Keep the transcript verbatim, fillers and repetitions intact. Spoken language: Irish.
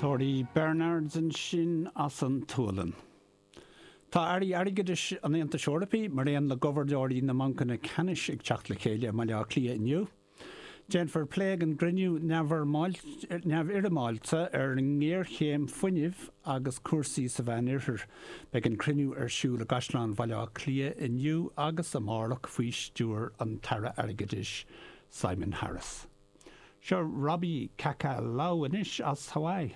Ceoltóirí Bernards ansin as an tSualainn. Tá airí airgeadais an Aontais Eorpaigh mar aon le gobharnóirí na mbancanna ceannais ag teacht le chéile i mBaile Átha Cliath inniu. Déanfar plé ag an gcruinniú neamhfhoirmeálta ar an ngéarchéim fuinnimh agus cúrsaí sa Mheánoirthear. Beidh an cruinniú ar siúl i gCaisleán Bhaile Átha Cliath inniu agus amárach faoi stiúir an tAire Airgeadais Simon Harris. Seo Robbie Kakalau anois as Hawaii.